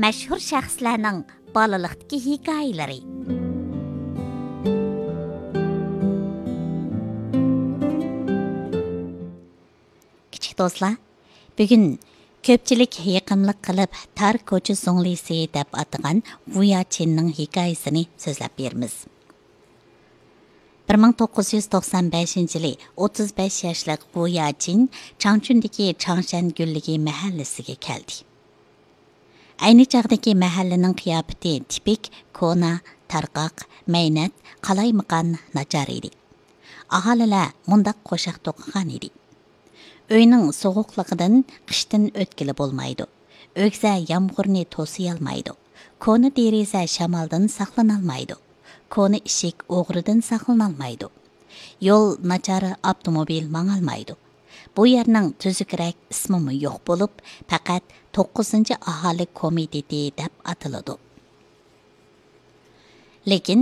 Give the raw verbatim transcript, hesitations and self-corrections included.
مەشھۇر شەخسلەرنىڭ بالىلىقتىكى ھېكايىلىرى. كىچىك دوستلار، بۈگۈن كۆپچىلىك يېقىملىق قىلىپ تار كوچا زۇڭلىسى دەپ ئاتىغان ۋۇياچىننىڭ ھېكايىسىنى سۆزلەپ بېرىمىز. بىر مىڭ توققۇز يۈز توقسان بەشىنچى يىلى ئوتتۇز بەش ياشلىق ۋۇياچىن چاڭچۈندىكى چاڭشەن گۈللۈكى مەھەللىسىگە كەلدى. ئەينى چاغدىكى مەھەللىنىڭ قىياپىتى تىپىك كونا، تارقاق، مەينەت، قالايمىقان، ناچار ئىدى. ئاھالىلەر مۇنداق قوشاق توقۇغان ئىدى: ئۆينىڭ سوغۇقلۇقىدىن قىشتىن ئۆتكىلى بولمايدۇ. ئۆگزە يامغۇرنى توسۇيالمايدۇ. كونا دېرىزە شامالدىن ساقلىنالمايدۇ. كونا ئىشىك ئوغرىدىن ساقلىنالمايدۇ. يول ناچار، ئاپتوموبىل ماڭالمايدۇ. بۇ يەرنىڭ تۈزۈكرەك ئىسمىمۇ يوق بولۇپ، پەقەت توققۇزىنچى ئاھالە كومىتېتى دەپ ئاتىلىدۇ. لېكىن